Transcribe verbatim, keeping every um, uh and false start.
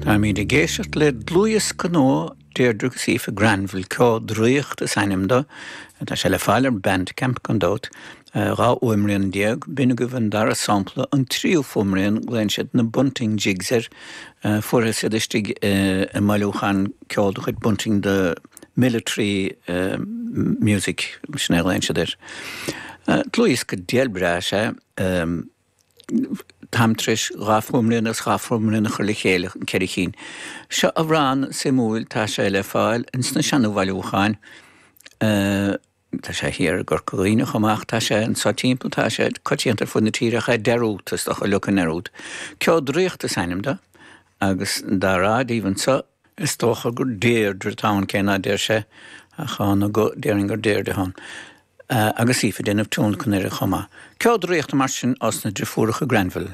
Táimid ag éisteacht le dlúthdhiosca nua Deirdre agus Aoife Granville Ceol Draíochta is ainm dó, tá sé le fáil ar Bandcamp gan dabht, dhá fhuaimrian déag, b'in agaibh an dara sampla, an tríú fuaimrian, glaonn siad na Bunting Jigs air, fuarthas iad istigh i mbailiúchán ceoil de chuid Bunting the Military Music, sin é a ghlaonn siad air. Dlúthdhiosca diail breá is ea é. Táim tar éis dhá fuaimrian agus dhá fuaimrian a chur le chéile, an ceithre chinn. Seo amhrán suimiúil, tá sé le fáil ins na seana-bhailiúcháin. Tá sé thiar i gCorca Dhuibhne chomh maith ach tá sé anso timpeall, tá sé coitianta ar fud na tíre ach é dearúdta, is dócha, leagtha i ndearúd. Ceo Draíochta is ainm dó agus dá rá daoibh anso, is dócha gur Deirdre atá ann cé ná deir sé ach ann go déarfainn gur Deirdre atá ann. Agus Aoife ag déanamh tionlacan air chomh maith. Ceo Draíochta mar sin os na driofúracha Granville.